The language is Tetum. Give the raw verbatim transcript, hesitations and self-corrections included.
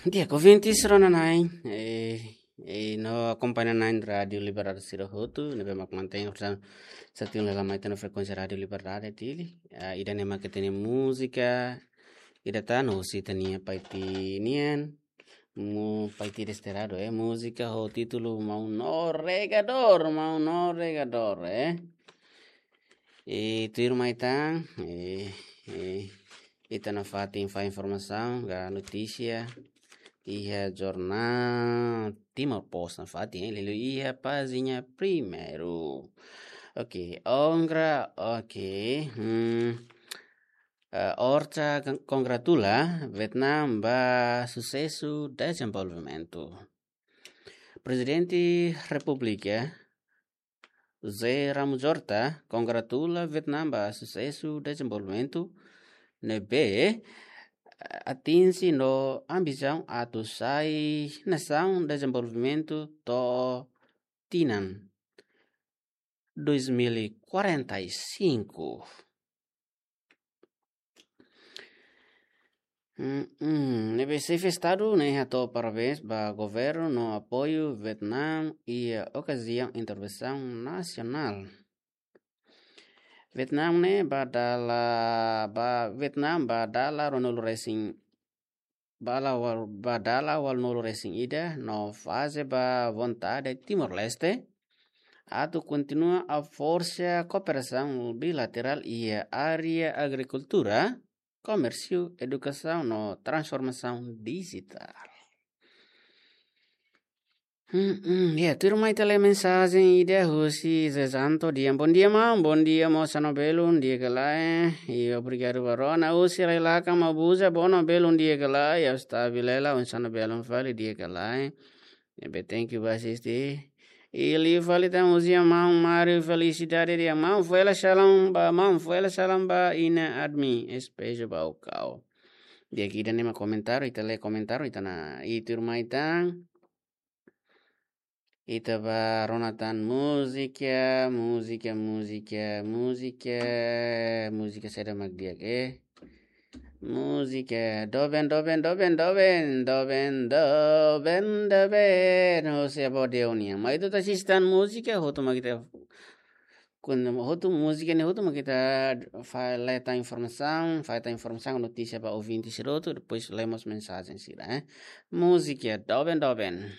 Di'ak, ouvintes rona-na'in, eh, eh, no akompaña na'in Rádiu Liberdade sira hotu, ne'ebé mak mantein, portantu, satu lelama ita-nia frekuénsia Rádiu Liberdade, Dili. Ah, ida-ne'e mak ita-nia múzika, ida tan, no husi ita-nia Paiti nian, mu Paiti Desterrado, eh, múzika ho títulu Maun Navegadór, Maun Navegadór, eh. I tuirmai tan, eh, eh, ita nafatin fó informasaun, ka notísia, iha jornál Timor Post nafatin, eh, liuliu iha pájina primeiru. Oke, ongra, oke, hmm, eh, ORCA kon-, kongratula Vietnam ba susesu dezenvolvimentu. Prezidente Repúblika, José Ramos Horta, kongratula Vietnam ba susesu dezenvolvimentu ne'ebé, eh, atinje no ambisaun atu sai nasaun dezenvolvimentu to'o tinan dois mil e quarenta e cinco. Mm, mm. Ne'ebé Xefe Estadu ne'e hato'o parabéns ba governu no apoiu Vietnam iha okaziaun intervensaun nasionál. Vietnam ne'e ba dala, ba Vietnam ba dala ruanulu resin, ba dala ual-, ba dala ualunulu resin ida no faze ba vontade Timor-Leste atu kontinua haforsa kooperasaun bilaterál iha área agrikultura, komérsiu, edukasaun no transformasaun dijitál. Hmm, hmm, ya, tuirmai ita lee mensajen ida husi Zezanto Dian. Bondia, maun. Bondia, mós, osan no belun di'ak ka lae? I obrigadu ba rona. Husi Railakan, Mabuza. Bono belun di'ak ka lae? Ya, está bilela, osan no belun fali di'ak ka lae? Ne'ebé thank you ba asiste. I liu fali tan husi maun Mário Felicidade, dehan maun fó hela salam ba, maun fó hela salam ba inan admin, Espejo Baucau. Di'ak, ida-ne'e mak komentáriu, ita lee komentáriu, ita-nia, i tuirmai tan ita ba rona tan múzika, múzika, múzika, múzika, múzika saida mak di'ak, eh? Múzika doben, doben, doben, doben, doben, doben, doben. Husi Avó Deus nian. Mai ita asiste tan múzika, hotu mak ita kun-, hotu múzika ne'e hotu mak ita fó, lee tan informasaun, fó tan informasaun, notísia ba ouvinte sira hotu, depois lee mós mensajen sira, eh. Múzika doben, doben.